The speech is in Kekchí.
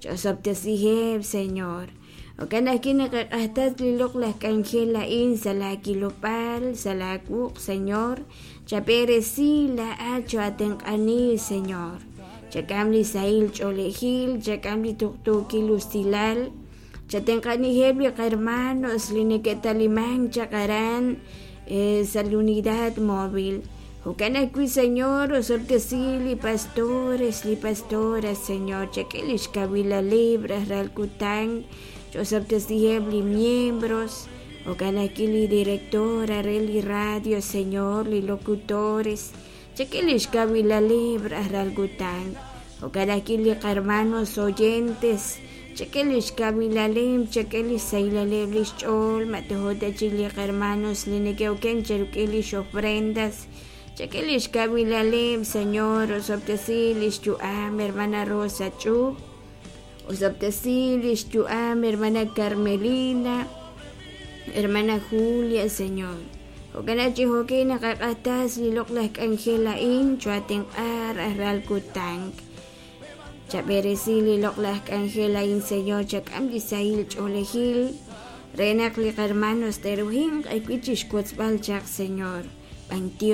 Ch'osob'tesiheb', Señor. Jo'kan ajwi' naqaq'ajtas li loq'laj k'anjel a'in sa' laakilob'aal, sa' laawuq', Señor. Chab'eresi laa'at cho'atenq'ani, Señor. Chak'am li sahil ch'oolejil, chak'am li tuqtuukil usilal. Chatenq'aniheb' li qahermanos li neke'talimank chaq aran sa' li unidad móvil. Jo'kan ajwi', Señor, osob'tesi li pastores, li pastoras, Señor, chak'e lix kawilaleb' rajlal kutan, ch'osob'tesiheb' li miembros, jo'kan ajwi' li directora re li radio, Señor, li locutores, chak'e lix kawilaleb' rajlal kutan, jo'kan ajwi' li qahermanos oyentes, chak'e lix kawilaleb', chak'e lix sahilaleb' lix ch'ool, ma tojo' ta chik li qahermanos li neke'oken cheruk'il lix ofrendas, chak'e lix kawilaleb', Señor, osob'tesi lix yu'am hermana Rosa Ch'up, osob'tesi lix yu'am hermana Carmelina, hermana Julia, Señor. Jo'kan chi jo'kin naqaq'ajtas li loq'laj k'anjel a'in cho'atenq'a rajlal kutan. Chab'eresi li loq'laj k'anjel a'in, Señor, chak'am li sahil ch'oolejil re naq li qahermanos te'ruhinq ajwi' chixwotzb'al chaq, Señor. B'antiox.